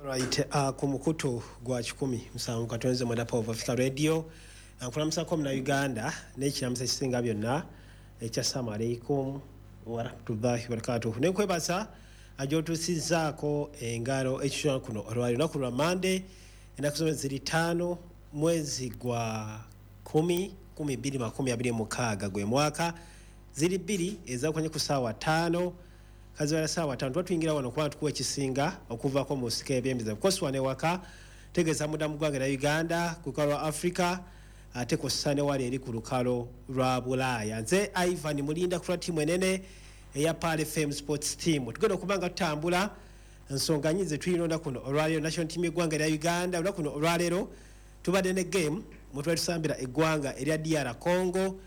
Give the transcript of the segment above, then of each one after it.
Right, ku mukutu gwa 107.9 Power of Africa Radio, nkulamusako muna Uganda n'ekiramuso ekisinga byonna ekya assalamu alaikum warahmatullahi wabarakatuh. Nenkwebaza gyotuusizzaako engalo ekitula kuno olwali lunaku lwa Mande, ennaku zomwezi ziri 5 mwezi gwa 10 2026 gwe mwaka, ziri 2 ezakwenye ku ssaawa 5 kazibala ssaawa 5 tuba tuyingira wano kubanga tukuwa ekisinga okuvaako mu nsiko ebyembiza kukosi wano ewaka tegeeza munda mu ggwanga lya Uganda ku lukalo lwa Africa ate kw'ossa ne wali eri ku lukalo lwa Bulaaya. Nze Ivan Mulinda ku lwa ttiimu enene eya Pearl FM Sports Team. Tugenda okuba nga tutambula nsonga nyingi ze tulina olunaku luno olwaleero. National team y'eggwanga erya Uganda olunaku luno olwaleero tubadde ne game mwe tubadde tusambira eggwanga erya DR Congo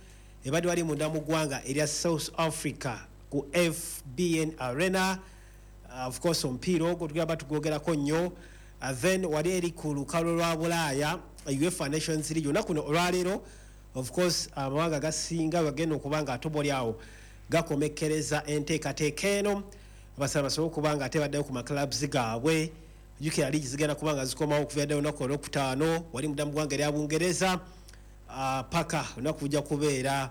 ebadde wali munda mu ggwanga erya South Africa ku FBN Arena. Of course omupiira ogwo tugenda batugwogerako nnyo. Then wali eri ku lukalo lwa Bulaaya UEFA Nations League olunaku luno olwaleero, of course amawanga gasinga bagenda okuba nga atoboli awo gakomekkereza enteekateeka eno abasaba basobole okuba nga ate baddayo ku maclubs gaabwe. Jjukira liigi zigenda kuba nga zikomawo okuva ddayo olunaku olwokutaano wali munda mu ggwanga erya Bungereza, paka olunaku lujja kubeera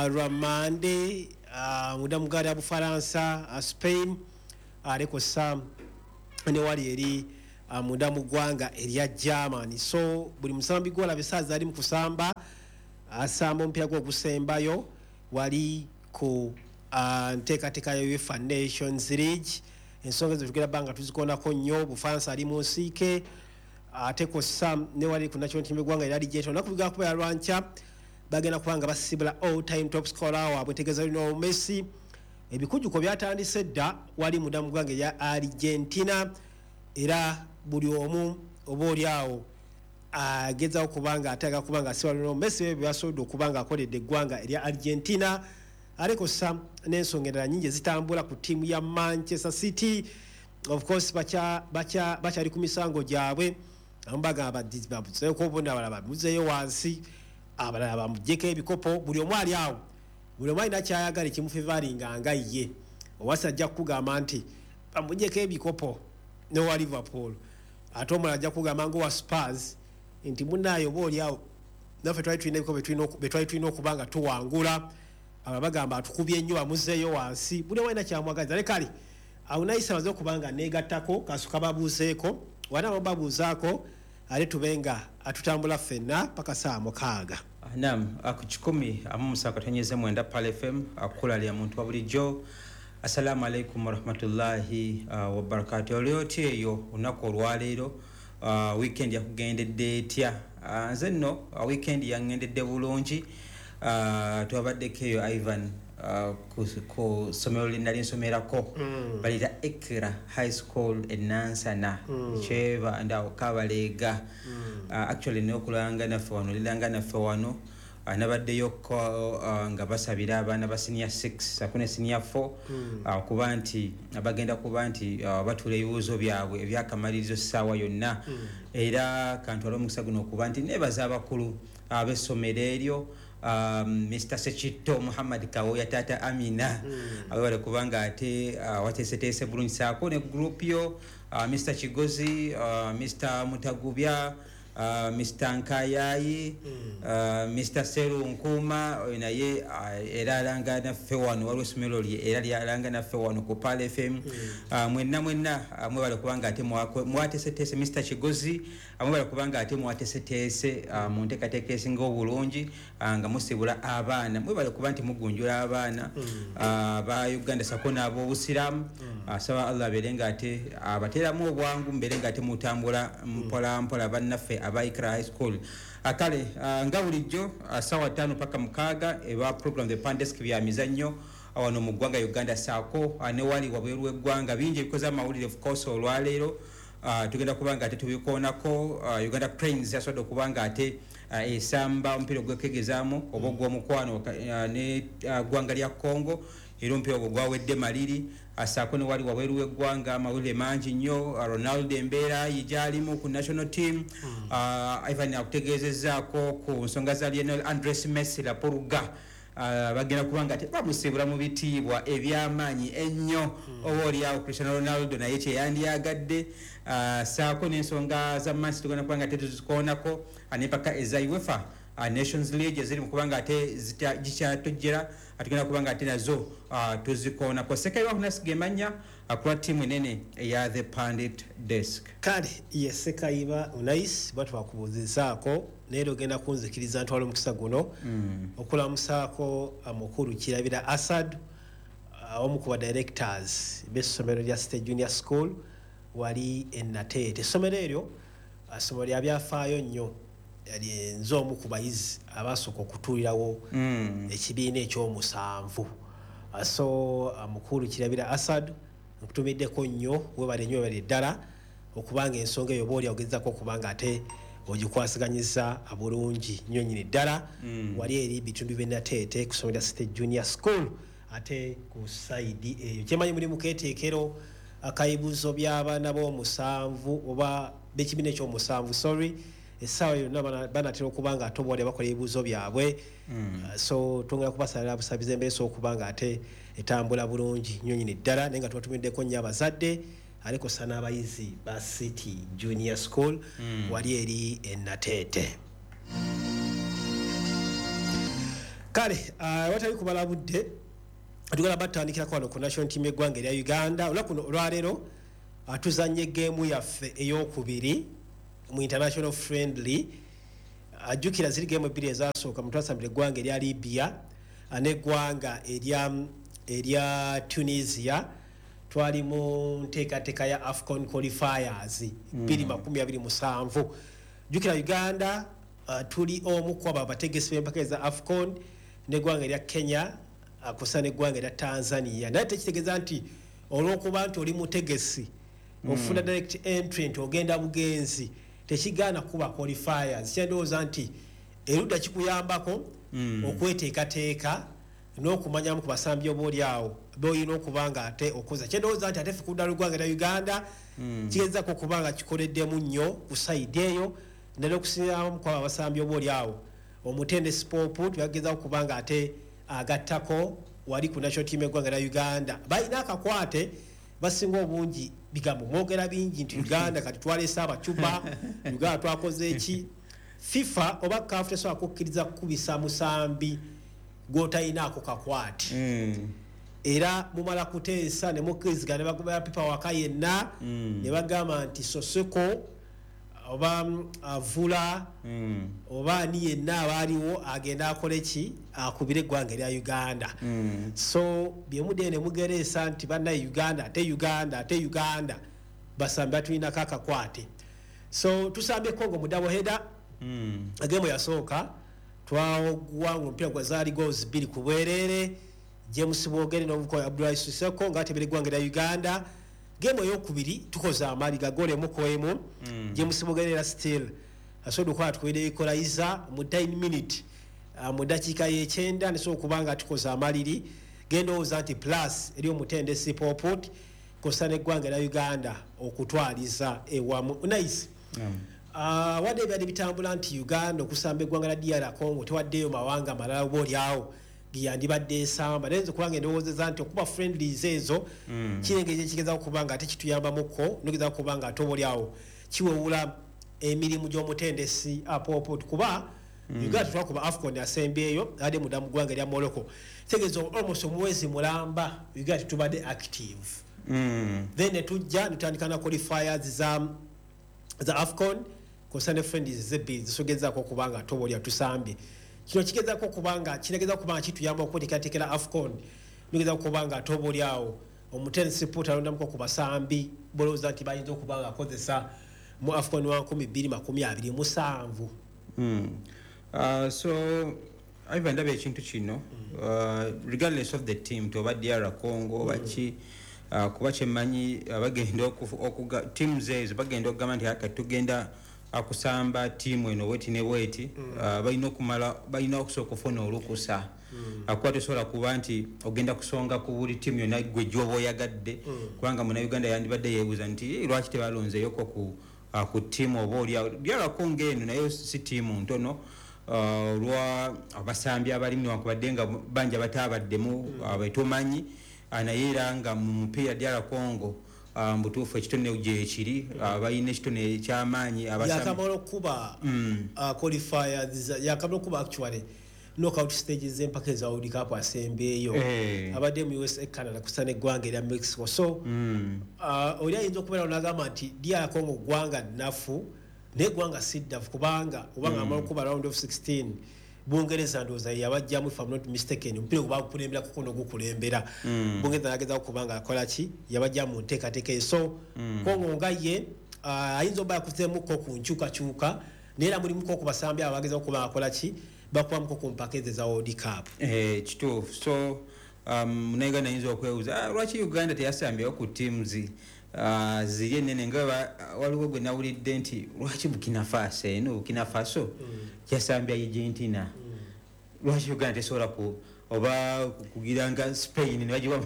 lwa Mande munda mu ggwanga lya Bufalansa, Spain ate kw'ossa ne wali eri munda mu ggwanga erya Germany. So buli musambi gw'olaba essaawa zali mu kusamba asamba omupiira gwe ogusembayo wali ku nteekateeka ya UEFA Nations League. Ensonga ezo tugenda bba nga tuzikoonako nnyo. Bufalansa ali mu nsiike ate kw'ossa ne wali ku national team y'eggwanga erya Argentina. Olunaku lugenda kubeera lwankya, bagenda kuba nga basibula all time top scorer waabwe ntegeeza Lionel Messi. Ebikujjuko byatandise dda wali munda mu ggwanga erya Argentina era buli omu oba oli awo agezaako kuba nga ate agala kuba nga asiba Lionel Messi ebyo byasobodde okuba nga akoledde eggwanga erya Argentina. Ate kw'ossa n'ensonga endala nnyingi ezitambula ku ttiimu ya Manchester City. Of course bakyali ku misango gyabwe, abamu bagamba bamuzeeko obunene, abalala bamuzeeyo wansi, abalala bamuggyeko ebikopo. Buli omu ali awo, buli omu alina ky'ayagala ekimufevaringa nga ye. Owasi ajja kukugamba nti bamuggyeko ebikopo n'owa Liverpool, ate omulala ajja kukugamba ng'owa Spurs nti munnaaye oba oli awo naffe twali tulina ebikopo bye twali tulina okuba nga tuwangula. Aba bagamba atukubye nnyo bamuzeeyo wansi. Buli omu alina kyamwagaliza. Ne kale awo nayise amaze okuba nga neegattako kasuka babuuzeeko wana babuuzaako ate tube nga atutambula ffenna paka ssaawa 6. Naam, ku 107.9 Pearl FM akukulalira muntu wa bulijjo. Assalamu alaikum warahmatullahi wabarakatuh. Oli otya eyo olunaku olwaleero? Weekend yakugendedde etya? Nze nno weekend yangendedde bulungi. Twabaddeko eyo Ivan ku ssomero lye nali nsomerako, balita Ekra High School e Nansana, kyeba ndawo Kabaleega. Actually n'okulanga naffe wano liranga naffe wano nabaddeyoko nga basabira abaana ba senior 6 sako ne senior 4 kuba nti bagenda kuba nti batuula ebibuuzo byabwe ebyakamalirizo ssaawa yonna. Era kantwale omukisa guno okuba nti neebaza abakulu ab'essomero eryo, Mr. Sekitto Muhammad Kawoya, Tata Amina, awebale kubanga ate wateeseteese bulungi saako ne group yo, Mr. Kigozi, Mr. Mutagubya, Mr. Nkayayi, Mr. Serunkuma, oyo naye era alanga naffe wano, waliwo essomero lye era lyalanga naffe wano ku Pearl FM. Mwenna mwenna mwebale kubanga ate mwateeseteese. Mr. Kigozi, mwebale kubanga ate mwateeseteese mu nteekateeka esinga obulungi nga musibula abaana. Mwebale kuba nti mugunjula abaana ba Uganda sako n'ab'obusiraamu. Asaba Allah abeere nga ate abateeramu obwangu, mubeere nga ate mutambula mpola mpola bannaffe aba Ikra High School. Kale nga bulijjo ssaawa 5 paka 6 eba program The Pandesk bya mizannyo wano mu ggwanga Uganda saako ne wali wabweru w'eggwanga bingi ebikoze amawulire. Of course olwaleero tugenda kuba nga ate tubikoonako. Uganda Cranes yasobodde okuba nga ate esamba omupiira ogwekegezaamu oba ogw'omukwano ne ggwanga lya Congo, era omupiira ogwo gwawedde maliri. Saako ne wali wabweru w'eggwanga amawulire mangi nnyo. Ronaldo embeera ye gy'alimu ku national team. Ivan akutegeezezzaako ku nsonga za Lionel Andres Messi Laporuga. Bagenda kubanga bamusiibula mu bitiibwa ebyamaanyi ennyo, oba oliawo Cristiano Ronaldo naye kyeyandyagadde. Saako n'ensonga za Man City tugenda kubanga ate tuzikoonako, n'empaka eza UEFA Nations League eziri mu kubanga ate gikyatojjera, tugenda kubanga ate nazo tuzikoonako. Sekayiba Hunasiga emanya akulwa ttiimu enene eya The Pundit Desk. Kale ye Sekayiba Unais batwakubuuzizaako, naye ogenda kunzikiriza ntwala omukisa guno okulamusaako mukulu Kirabira Asad, omu ku ba directors b'essomero lya City Junior School wali e Nateete. Essomero eryo ssomero lya byafaayo nnyo, nze omu ku bayizi abasooka okutuulirawo ekibiina ekyomusanvu. So mukulu Kirabira Asad, nkutumiddeko nnyo, webale nnyo, webale ddala okubanga ensonga eyo oba oli ogezaako okubanga ate ogikwasiganyiza bulungi nnyo nnyini ddala. Wali eri bitundu by'e Nateete ku ssomero lya City Junior School, ate ku sayidi eyo kyemanyi muli muketeekero akayibuzo by'abaana b'omusanvu oba b'ekibiina ekyomusanvu, sorry, essaawa yonna banatera okuba nga ate oba bakola ebibuuzo byabwe. So twongera kubasalira busabiza embeera esobola okuba nga ate etambula bulungi nnyo nnyini ddala, naye nga tubatumiddeko nnyo abazadde alikosa n'abayizi ba City Junior School wali eri e Nateete. Kale watali kubala budde, tugenda batandikirako wano ku national team y'eggwanga erya Uganda. Olunaku olwaleero tuzannye geemu yaffe eyokubiri mu international friendly. Ajjukira ziri geemu ebbiri ezasooka mutwasambira eggwanga erya Libya n'eggwanga erya Tunisia. Twali mu nteekateeka ya AFCON qualifiers 2027. Jjukira Uganda tuli omu ku abo abategesi b'empaka eza AFCON n'eggwanga erya Kenya kusa n'eggwanga erya Tanzania, naye tekitegeeza nti olw'okuba nti oli mutegesi ofuna direct entry nti ogenda bugenzi, tekigaana kuba qualifiers. Kyendowooza nti erudda kikuyambako okweteekateeka n'okumanyamu ku basambi oba oli awo boolina okuba nga ate okoza. Kyendowooza nti ate ffe ku ludda lw'eggwanga erya Uganda kigezaako okuba nga kikoleddemu nnyo ku sayidi eyo, naddala okusinziiramu ku abo abasambi oba oli awo omutendesi Pope tubagezaako okuba nga ate agattako wali ku national team y'eggwanga erya Uganda. Balina akakwate basinga obungi, bigambo mwogera bingi nti Uganda kati twaleese abacuba, Uganda twakoze eki. FIFA oba CAF tesobola kukkiriza kukubisa musambi gw'otalinaako kakwate. Era mumala kuteesa ne mukkirizigana ne bagobera pipa waka yenna ne bagamba nti Soseko oba Avula oba ani yenna abaaliwo agenda akole ki, akubire eggwanga erya Uganda. So byemuddeyo ne mugereesa nti bannaye Uganda ate Uganda ate Uganda basambi batulinako akakwate. So tusambye Congo mu double header. Agemu yasooka twawangula omupiira gwa zaali goals 2 ku bwereere, James Bwogere n'omukozi Abdullahi Siseko ng'atebera eggwanga erya Uganda. Gemu eyokubiri tukoze amaali ga goal 1-1. James Bwogere era still asobodde okuba tukubidde equalizer mu 9 minute, mu ddakiika y'ekyenda nesobola okuba nga tukoze amaliri. Gendowooza nti plus eri omutendesi Poput kosa n'eggwanga erya Uganda okutwaliza ewamu. Nice. Wadde ebyali bitambula nti Uganda okusamba eggwanga lya DR Congo tewaddeyo mawanga malala oba oli awo geyandibadde esamba, naye nze kubanga endowoozeza nti okuba friendlies ezo kirengeri ekigezaako okuba nga ate kituyambamukko nogezaako okuba nga ate oba oli awo kiwewula emirimu gy'omutendesi Popot, kuba Uganda tetwakuba AFCON asembyeyo ade mudda mu ggwanga erya Morocco, kitegeeza almost omwezi mulamba Uganda tetubadde active. Then netujja netutandika na qualifiers za AFCON kosa ne friendlies zebbiri zisogezaako okuba nga ate oba oli atusambye. Kino kigezaako okuba nga kiragezaako okuba nga kituyamba okweteekateekera AFCON, nogezaako okuba nga ate oba oli awo omutendesi Pope alondamuko ku basambi bolowooza nti bayinza okuba nga akozesa mu AFCON wa 2027. So Ivan, ndaba ekintu kino regardless of the team toba DR Congo oba ki, kuba kyemmanyi bagenda teams ezo bagenda okugamba nti kati tugenda kusamba ttiimu eno bweti ne bweti, balina okumala balina okusooka okufuna olukusa. Kuba tosobola kuba nti ogenda kusonga ku buli ttiimu yonna gwe gy'oba oyagadde, kubanga munnayuganda yandibadde yeebuuza nti lwaki tebalonzeeyoko ku ttiimu oba oli awo. DR Congo eno nayo si ttiimu ntono. Olwa abasambi abalimu, newankubadde nga banja batabaddemu betumanyi, naye era nga mu mupiira DR Congo mbutuufu ekitone gyekiri, balina ekitone ekyamaanyi. Yakamala okuba qualifiers, yakamala okuba actually knockout stages z'empaka eza World Cup asembeeyo. Abadde mu USA, Canada, kusa n'eggwanga erya Mexico. So oli ayinza okubeera n'agamba nti DR Congo ggwanga nnafu, naye eggwanga si ddafu, kubanga obanga amala okuba round of 16, Bungereza ndowooza yabajjamu, if I'm not mistaken, omupiira gwe bagukulembera kuno gukulembera Bungereza, nagezaako kubanga akola ki, yabajja mu nteekateeka eyo. So Congo nga ye ayinza oba yakuzeemuko ku nkyukakyuka, naye era mulimuko ku basambi abo bagezaako kuba akola ki, bakubamuko ku mpaka ezo eza World Cup. Kituufu. So Munauganda ayinza okwebuuza, lwaki Uganda teyasambyewo ku teams ziri enene? Nga waliwo gwe nawulidde nti lwaki Burkina Faso, eno Burkina Faso yasambya Argentina, lwaki Uganda tesobola ku oba kugira nga Spain nebagiwa?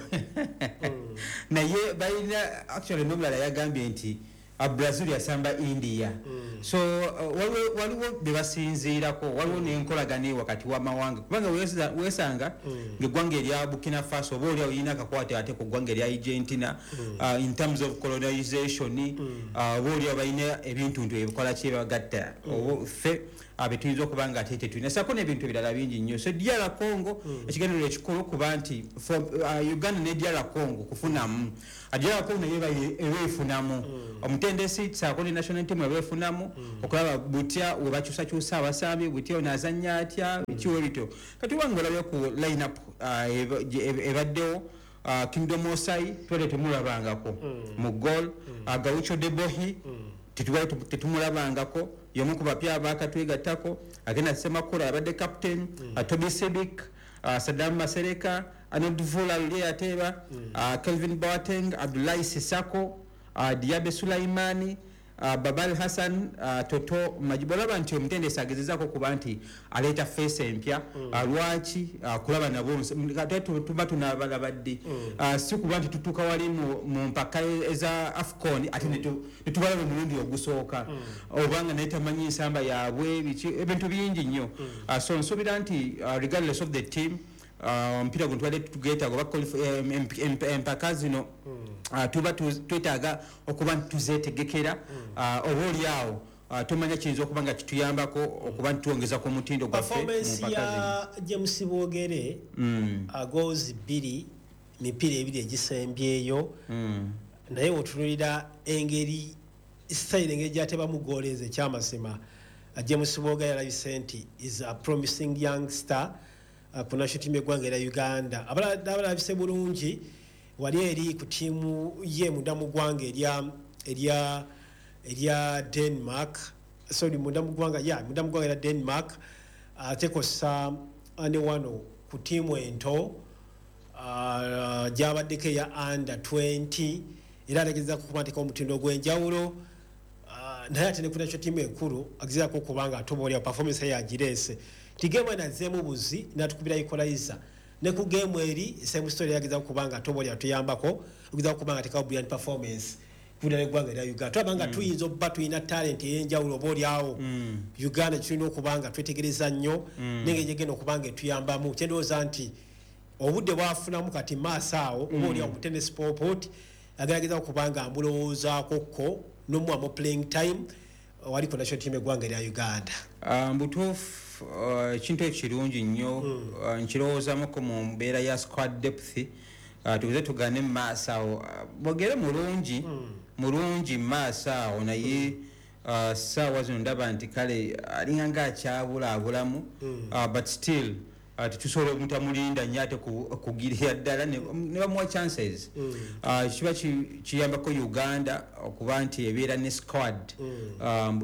Naye balina actually n'omulala yagambye nti Brazil yasamba India. So waliwo bye basinziirako, waliwo n'enkolagana wakati w'amawanga, kubanga weesanga ng'eggwanga erya Burkina Faso oba oli olina akakwate ate ku ggwanga erya Argentina in terms of colonization, oba oli balina ebintuntu ebikola kyebagatta oba ffe betuyinza okuba nga ate tetulina, sako n'ebintu ebirala bingi nnyo. So DR Congo, ekigendererwa ekikulu kuba nti Uganda ne DR Congo kufunamu, DR Congo naye eba efunamu omutendesi saako ne national team eba efunamu okulaba butya we bakyusakyusa abasambi, butya ono azannya atya, bikiwe bityo. Kati obanga olabye ku line up ebaddewo, Kingdom Osai twele temulabangako mu goal, Gaucho Debohi tetumulabangako, yomu ku bapya abakatwegattako, agenda Semakula abadde captain, Toby Sibik, Saddam Masereka, Arnold Vula luli yateeba, Kelvin Boateng, Abdullahi Sisako, Diabe Sulaimani, Babal Hassan, Toto Majibu. Olaba nti omutendesi agezezaako kuba nti aleeta face empya. Lwaki kulaba nabo ate tuba tunabalaba ddi? Si kuba nti tutuuka wali mu mpaka eza AFCON ate netubalaba omulundi ogusooka, obanga naye tamanyi nsamba yaabwe, biki, ebintu bingi nnyo. So nsuubira nti regardless of the team, omupiira guno tubadde tugeetaaga oba empaka zino tuba twetaaga okuba nti tuzeetegekera. Oba oli awo tumanya kiyinza okuba nga kituyambako okuba nti twongeza ku mutindo gwaffe mu Performance mpaka zino. ya James Bogere, goals 2, mipiira ebiri egisembyeyo, naye otunulira engeri style, engeri gyatebamu goal ezo, ekyamazima James Bogere alabise nti is a promising young star ku national team y'eggwanga erya Uganda. Abalala abalabise bulungi wali eri ku ttiimu ye munda mu ggwanga erya Denmark, sorry, munda mu ggwanga, ya munda mu ggwanga erya Denmark, ate kossa ne wano ku ttiimu ento gyabaddeko eya under 20, era ategezaako okuba nteeka omutindo ogw'enjawulo. Naye ate ne ku national team enkulu agezaako okuba nga atoba oli performance ye agireese nti game eno azzeemu buzi n'atukubira equalizer, ne ku game eri same story, yagezaako okuba nga atoba oli atuyambako okugezaako okuba nga atekawo brilliant performance kubira n'eggwanga erya Uganda. Tulaba nga tuyinza okuba tulina talent ey'enjawulo oba oli awo Uganda tulina okuba nga twetegereza nnyo nengeri gyegenda okuba nga etuyambamu. Kyendowooza nti obudde bwafunamu kati maaso awo, oba oli awo mutendesi Popot agerageza okuba nga amulowoozaako ko n'omuwamu playing time wali ku national team eggwanga erya Uganda. Mbutuufu ekintu ekirungi nnyo, nkirowoozamuko mu mbeera ya squad depth. Tuguze tugane mu maaso awo, Bogere mulungi mulungi mu maaso awo, naye saawa zino ndaba nti kale alinga nga akyabulaabulamu, but still tetusobola omutamulinda nnyo ate kugirira ddala ne bamuwa chances. Kiba kiyambako Uganda okuba nti ebeera ne squad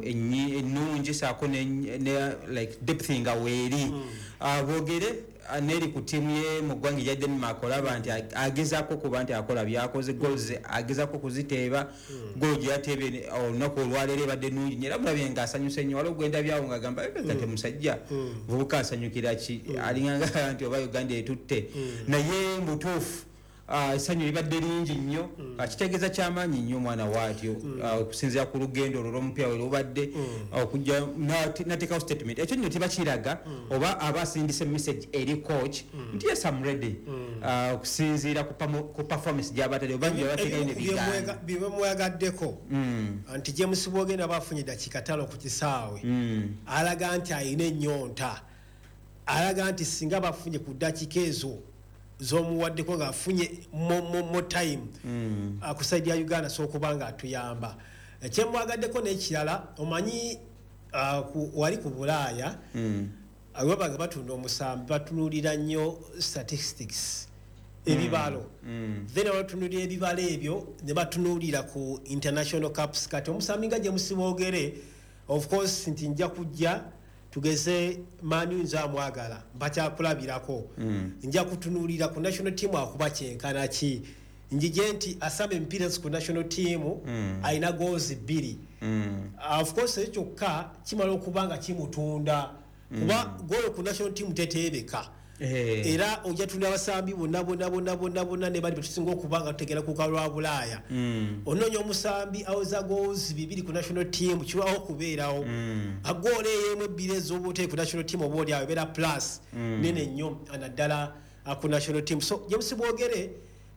ennungi saako ne like depth nga weeri. Bogere neri ku ttiimu ye mu ggwanga erya Denmark, olaba nti agezaako okuba nti akola byakoze, goals agezaako kuziteeba. Goal gye yateebye olunaku olwaleero ebadde nnungi nnyo, era mulabye ng'asanyuse nnyo. Waliwo gwenda byawo ng'agamba, "Eh, kati musajja muvubuka asanyukira ki?" Alinganga nti oba Uganda etutte, naye mbutuufu Essanyu libadde lingi nnyo. Kitegeeza kyamaanyi nnyo omwana waatyo, okusinziira ku lugendo olwo lw'omupiira we lubadde, okujja nateekawo statement. Ekyo nno tebakiraga oba aba asindise message eri coach nti yes, I'm ready, okusinziira ku performance gy'abatadde oba gyebateekayo ne bigaana. Bye bamwagaddeko nti James Bwogere aba afunye dakiika 5 ku kisaawe, alaga nti alina ennyonta, alaga nti singa bafunye ku ddakiika ezo z'omuwaddeko ng'afunye mo time ku side ya Uganda, so okuba nga atuyamba. Ekyemwagaddeko n'ekirala, omanyi, wali ku Bulaaya webanga batunda omusambi batunuulira nnyo statistics, ebibalo. Then batunuulira ebibalo ebyo ne batunuulira ku international cups. Kati omusambi nga James Bwogere, of course nti nja kujja tugeze Manu, nze amwagala mbakyakulabirako, nja kutunuulira ku national team akuba kyenkana ki, njije nti asamba emipiira ku national team alina goals 2. Of course ekyo kyokka kimala okuba nga kimutunda, kuba goolo ku national team teteebeka. Era ojja tunda abasambi bonna bonna bonna bonna bonna ne bali betusinga okuba nga tutegera ku lukalu lwa Bulaaya, onoonya omusambi aweza goals 2 ku national team, kirwawo okubeerawo. Agoolo ey'emu, ebbiri ez'oba oteeke ku national team, oba oli awo ebeera plus nene nnyo, naddala ku national team. So James Bwogere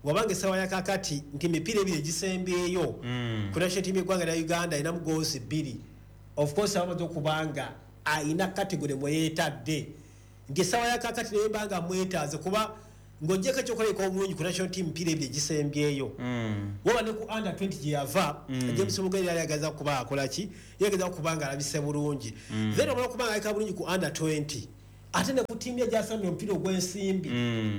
wabanga essaawa ya kakati nti emipiira ebiri egisembyeyo ku national team y'eggwanga lya Uganda alinamu goals 2, of course abamaze okuba nga ayina category mwe yeetadde nti essaawa ya kakati naye mbanga mwetaaze, kuba ng'ogyeko ekyokulabika obulungi ku national team mipiira ebiri egisembyeyo, waba ne ku under 20 gye yava, James Bwogere yali ageza kuba akola ki, yageza kuba nga alabise bulungi. Then omala okuba nga alabika bulungi ku under 20, ate ne ku ttiimu ye gyasambye omupiira ogw'ensimbi,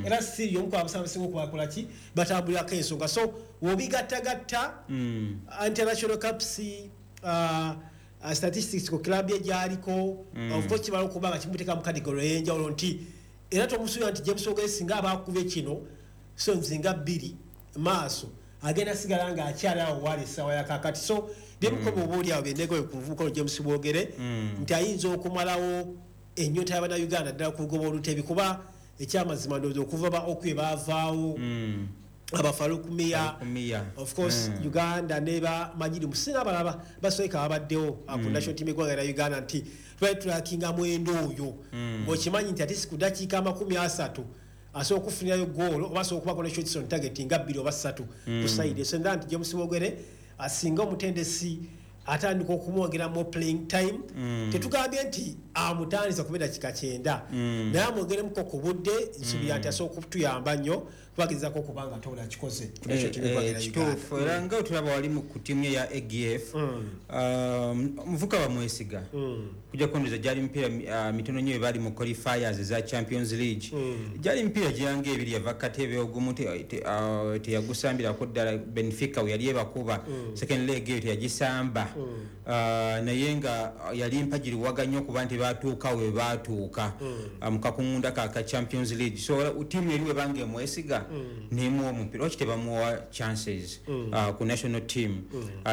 era siri omu ku abasambi abasinga okubakola ki, batambulirako ensonga. So wobigattagatta international cups, statistics ku club ye gyaliko, of course kimala okuba nga kimuteeka mu category ey'enjawulo nti era tomusuubira nti James Bwogere singa aba akubye kino so nzinga 2 maaso agenda sigala nga akyali awo waali essaawa ya kakati. So byemukoba oba oli awo byendegoye ku muvubuka ono James Bwogere nti ayinza okumalawo ennyonta y'Abannayuganda ddala ku lugoba olutebi, kuba ekyamazima ndowooza okuva ba Okwe baavaawo, abafalukumiya, Miya. of course Uganda ne bamanyiri musinga abalaba basoboka babaddewo ku national team eggwanga lya Uganda nti tubali tulakinga mwendo oyo ng'okimanyi nti ate si ku dakiika 30 asobola okufunirayo goolo oba asobola okubako ne shots on target nga bbiri oba ssatu ku side. So nda nti James Bwogere asinga omutendesi atandika okumwongera mu playing time. Tetugambye nti amutandisa kuba eddakiika 90, naye amwongeremuko ku budde. Nsuubira nti asobola okutuyamba nnyo kubagezako okuba nga tobola kikoze ku national team eggwanga lya Uganda. Kituufu, era nga otulaba wali ku ttiimu ye ya AGF, omuvuka bamwesiga kujja kondeza. Gyali mipiira mitono nnyo bali mu qualifiers eza Champions League, gyali mipiira gyanga ebiri yava katebe ogumu teyagusambirako ddala. Benfica we yali ebakuba second leg eyo teyagisamba. Naye nga yali mpagiriwaga nnyo okuba nti batuuka we batuuka mu kakungunda ka Champions League. So ttiimu eri webanga emwesiga nemuwa omupiira, lwaki tebamuwa chances ku national team?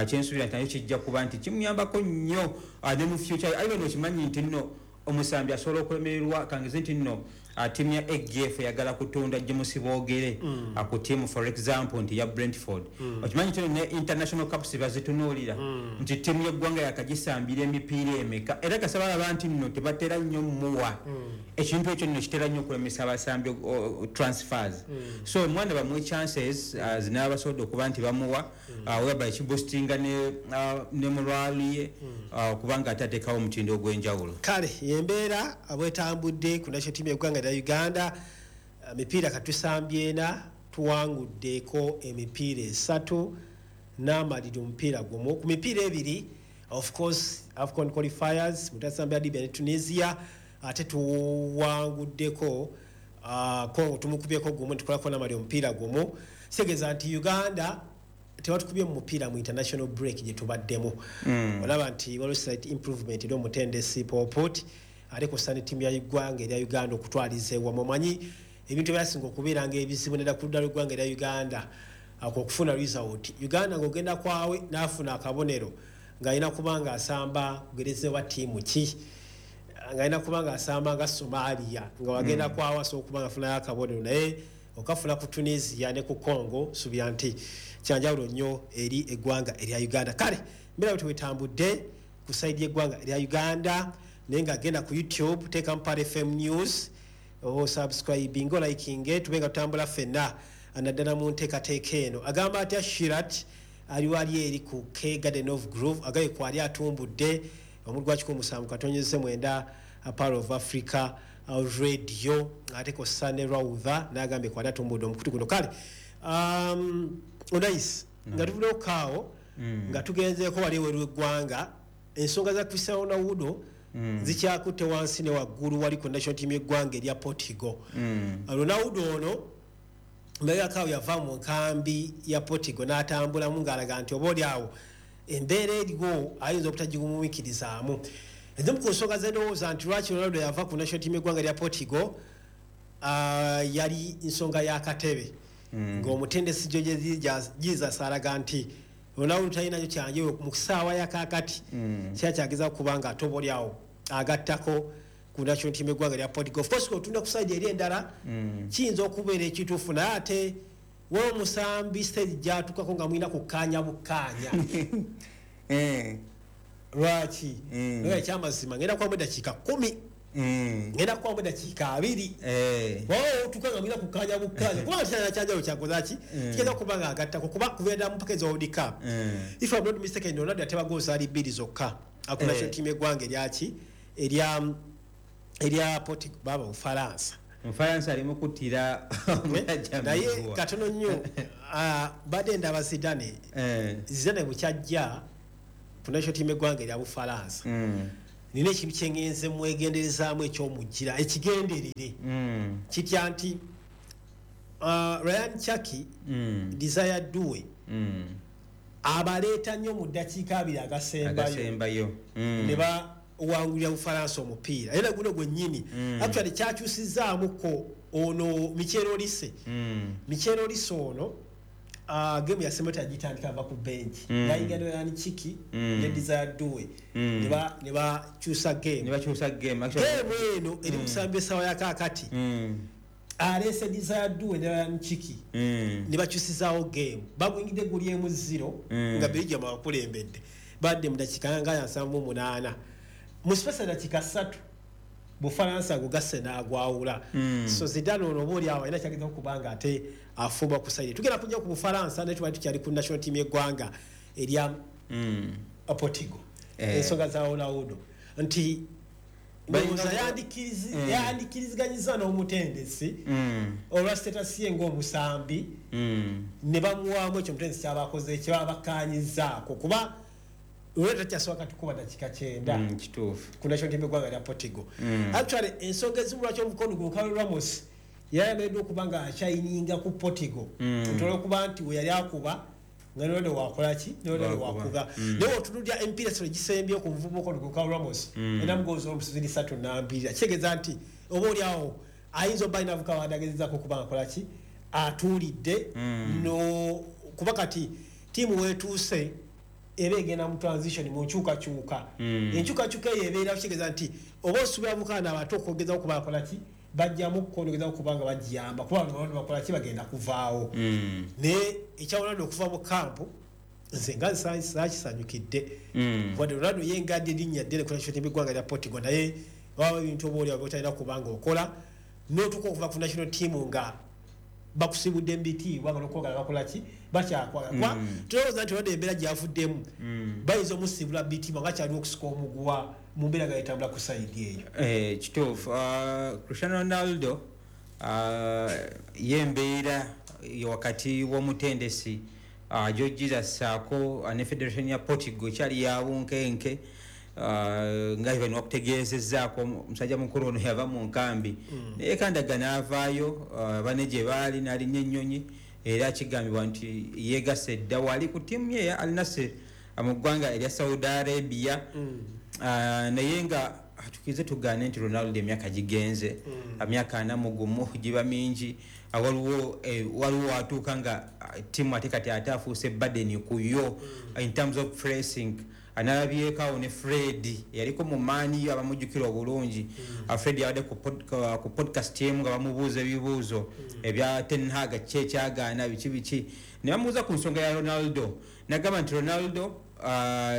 Kyensuubira nti nayo kijja kuba nti kimuyambako nnyo ne mu future. Aye bano okimanyi nti nno omusambi asobola okulemererwa, kangeze nti nno ttiimu ya AGF eyagala kutunda James Bwogere ku ttiimu for example nti ya Brentford. Okimanyi nti ne international cups bazitunuulira nti ttiimu y'eggwanga yakagisambira emipiira emeka, era kasaba alaba nti nno tebatera nnyo muwa ekintu ekyo nno kitera nnyo okulemesa abasambi transfers. So omwana bamuwe chances zinaabasobodde okuba nti bamuwa, whereby kiboostinga ne morale ye, okubanga ate ateekawo omutindo ogw'enjawulo. Kale embeera bwetambudde ku national team y'eggwanga lya Uganda, mipiira katusambye ena, tuwanguddeko emipiira esatu n'amaliri omupiira gumu ku mipiira ebiri. Of course AFCON qualifiers mutasambya Libya ne Tunisia, ate tuwanguddeko Congo, tumukubyeko gumu ntukolako n'amaliri omupiira gumu. Kitegeeza nti Uganda tebatukubye mu mupiira mu international break gye tubaddemu. Olaba nti waliwo slight improvement eri omutendesi Popot ate kussa ne ttiimu ya ggwanga erya Uganda okutwaliza ewamu. Omanyi ebintu ebyasinga okubeera nga ebizibu nedda ku ludda lw'eggwanga erya Uganda ako okufuna result, Uganda ng'ogenda kwawe n'afuna akabonero ng'alina kuba ng'asamba kugerezebwa ttiimu ki, ng'alina kuba ng'asamba nga Somalia, nga wagenda kwawe asobola okuba nga afunayo akabonero, naye Okafuna ku Tunisia ne ku Congo, subira nti kyanjawulo nnyo eri eggwanga erya Uganda. Kale mbeera bwe twetambudde ku side y'eggwanga erya Uganda, naye nga genda ku YouTube, teeka Mpale FM News, osubscribing, olikinge, tube nga tutambula ffenna naddala mu nteekateeka eno. Agamba atya Shirat ali wali eri ku K Garden of Groove, agaye kwali atumbudde omulwa 17.9 Power of Africa Radio, ate ko Sane Raudha n'agambye kwali atumbudde omukutu guno. Kale Onais, nga tuvuddeyo kaawo, nga tugenzeeko wali eweru w'eggwanga, ensonga za Cristiano Ronaldo zikyakutte wansi ne waggulu wali ku national team y'eggwanga erya Portugal. Ronaldo ono mbegakaawo yava mu nkambi ya Portugal n'atambulamu ng'alaga nti oba oli awo embeera eriwo ayinza obutagigumiikirizaamu. Ezimu ku nsonga ze ndowooza nti lwaki Ronaldo yava ku national team y'eggwanga erya Portugal, yali nsonga y'akatebe, ng'omutendesi Jorge Jesus alaga nti Ronaldo talinayo kyanjawulo mu ssaawa ya kaakati, kyakyageza kuba nga ate oba oli awo agattako ku national team y'eggwanga erya Portugal. Of course otunda ku side eri endala, kiyinza okubeera ekituufu, naye ate waliwo omusambi stage gy'atuukako nga mulina kukkaanya bukkaanya. Lwaki? Naye ekyamazima ngenda kubamu eddakiika 10, ngenda kubamu eddakiika 20. Waliwo otuuka nga mulina kukkaanya bukkaanya, kubanga kirala kyanjawulo kyakoze ki? Kigeza okuba nga agattako, kuba kubeera ddala mu mpaka eza World Cup. If I'm not mistaken, Ronaldo yateba goals zaali 2 zokka ku national team y'eggwanga eryaki erya Portugal, baba Bufalansa. Omufalansa alimu kuttira omusajja Naye miguwa. katono nnyo, badde ndaba Zidane. Zidane bukyajja ku national team y'eggwanga erya Bufalansa, nina ekintu kye ngenze mwegenderezaamu ekyomugira ekigenderere, kitya nti Ryan Cherki, Desire Doue, abaleeta nnyo mu ddakiika 20 agasembayo, Agasembayo. Ne bawangulira Bufalansa omupiira. Era guno gwennyini actually kyakyusizaamuko ono Michel Olise. Michel Olise ono, game yasembayo tagitandika, ava ku bench, nayingira ne Ryan Cherki ne Desire Doue, ne bakyusa game. Ne bakyusa game. Game eno eri musambi essaawa ya kaakati, aleese Desire Doue ne Ryan Cherki, ne bakyusizaawo game. Baguyingidde guli 1-0, nga Belgium abakulembedde, badde mu dakiika nga 78, mu space ya dakiika 3 Bufalansa gugasse n'agwawula. So Zidane ono oba oli awo alina kyageza okuba nga ate afuba ku side. Tugenda kujja ku Bufalansa, naye tubadde tukyali ku national team y'eggwanga erya Portugal. Ensonga za Ronaldo nti ndowooza yandikiriziganyizza n'omutendesi olwa status ye ng'omusambi, ne bamuwaamu ekyo omutendesi kyabakoze kyebaba bakkaanyizzaako, kuba olweta takyasobola kati kuba dakiika 90 Kituufu. ku national team y'eggwanga lya Portugal. Actually ensonga ezimu lwaki omukono Goncalo Ramos yayagaleddwa okuba nga akyayininga ku Portugal, nti olwokuba nti we yali akuba nga Ronaldo wakola ki? Ronaldo Wakuba. wakuba. Naye otunuulira emipiira esolo gisembye ku muvubuka ono Goncalo Ramos, erina mugozi omusizi 3 nambirira, kitegeeza nti oba oli awo ayinza obba alina avuka wadagezezaako okuba nga akola ki, atuulidde no, kuba kati ttiimu weetuuse eba egenda mu transition, mu nkyukakyuka. Enkyukakyuka eyo ebeera kitegeeza nti oba osuubira bukaana abato okwogezaako okuba akola ki, bajjamu kukonogezaako kuba nga bagiyamba, kuba bano bakola ki, bagenda kuvaawo. Naye ekya Ronaldo okuva mu kampu nze nga saakisanyukidde, wadde Ronaldo ye ngadde erinnya ddene ku national team y'eggwanga lya Portugal, naye waba ebintu oba oli awo by'otalina kuba nga okola n'otuuka okuva ku national team nga bakusibudde mu bitiibwa, nga n'okwagala bakola ki, bakyakwagala. Kuba tulowooza nti Ronaldo embeera gy'avuddemu bayinza omusibula bitiibwa nga kyaliwo okusika omuguwa mu mbeera nga yetambula ku sayidi eyo. Kituufu. Cristiano Ronaldo, ye embeera wakati w'omutendesi Jorge Jesus saako ne Federation ya Portugal kyali ya bunkenke. Nga bano bakutegeezezzaako omusajja mukulu ono yava mu nkambi, naye kandaga n'avaayo, bane gye baali n'alinnya ennyonyi, era kigambibwa nti yeegasse dda wali ku ttiimu ye ya Al Nassr mu ggwanga erya Saudi Arabia. Naye nga tukize tugaane nti Ronaldo emyaka gigenze, emyaka 41 giba mingi. Waliwo watuuka nga ttiimu ate kati ate afuuse burden ku yo in terms of pressing. Nalabyeko awo ne Fred yaliko mu maani abamujjukira obulungi. Fred yabadde ku podcast emu nga bamubuuza ebibuuzo ebya Ten Hag, ki ekyagaana, biki biki, ne bamubuuza ku nsonga ya Ronaldo, nagamba nti Ronaldo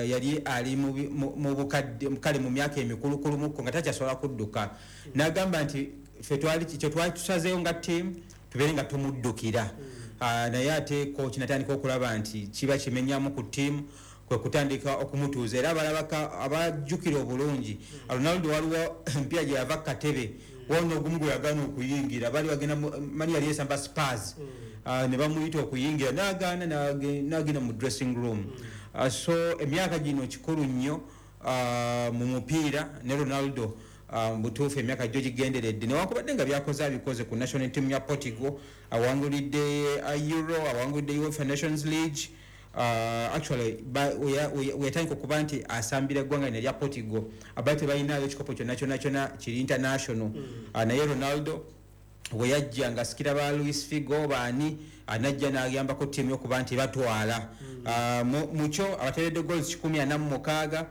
yali ali mu bukadde, kale mu myaka emikulukulumuko nga takyasobola kudduka. Nagamba nti ffe kye twali tusazeeyo nga team tubeere nga tumuddukira. Naye ate coach natandika okulaba nti kiba kimenyamu ku team, kwe kutandika okumutuuza. Era abalabaka abajjukira obulungi, Ronaldo waliwo empira gye yava katebe wona ogumu gwe yagaana okuyingira, bali bagenda mani yali esamba Spurs, ne bamuyita okuyingira n'agaana, n'agenda mu dressing room. So emyaka gino kikulu nnyo mu mupiira, ne Ronaldo butuufu emyaka gyo gigenderedde, newankubadde nga byakoze abikoze ku national team ya Portugal, awangulidde Euro, awangulidde UEFA Nations League. Actually weyatandika okuba nti asambira eggwanga lino erya Portugal, abali tebalinayo ekikopo kyonna kyonna kyonna kiri international. Naye Ronaldo bwe yajja nga asikira ba Luis Figo baani, anajja n'ayambako ttiimu okuba nti batwala. Mukyo abateeredde goals 146,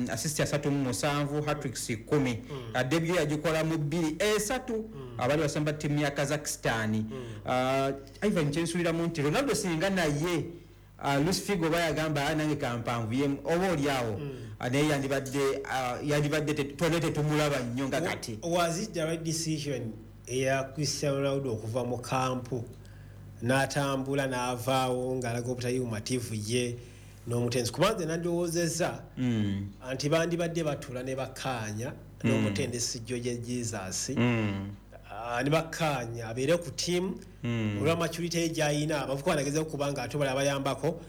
assist 37, hat-tricks 10. Debut yagikola mu 2-3, abali basamba ttiimu ya Kazakhstan. Ivan, kyensuubiramu nti Ronaldo singa naye Luis Figo bayagamba, "Ah, nange kampanvuyemu," oba oli awo naye yandibadde twali tetumulaba nnyo nga kati. Was it the right decision eya Cristiano Ronaldo okuva mu kampu n'atambula n'avaawo ng'alaga obutali bumativu ye n'omutendesi? Kubanze nandiwoozezza nti bandibadde batuula ne bakkaanya n'omutendesi Jorge Jesus, ne bakkaanya abeere ku ttiimu olwa maturity ye gy'ayina. Abavubuka banagezeko okuba nga ate bala bayambako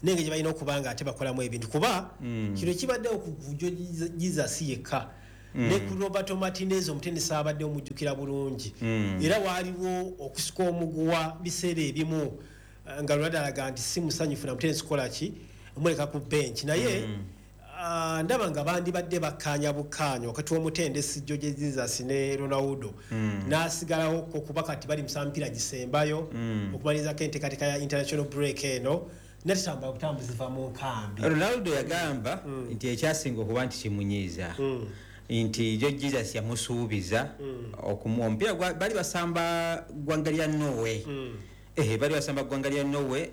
n'engeri gye balina okuba nga ate bakolamu ebintu, kuba kino kibaddewo ku Jorge Jesus yekka, ne ku Roberto Martinez omutendesi abadde omujjukira bulungi, era waaliwo okusika omuguwa biseera ebimu, nga Ronaldo alaga nti si musanyufu na mutendesi kukola ki, omuleka ku bench. Naye ndaba nga bandibadde bakkaanya bukkaanya wakati w'omutendesi Jorge Jesus ne Ronaldo, n'asigalawo ko, kuba kati bali musa mpira gisembayo okumalirizaako enteekateeka ya international break eno, netatambula butambuzi va mu nkambi. Ronaldo yagamba nti ekyasinga okuba nti kimunyiiza nti Jorge Jesus yamusuubiza okumuwa omupiira bali basamba ggwanga lya Norway. Bali basamba ggwanga lya Norway,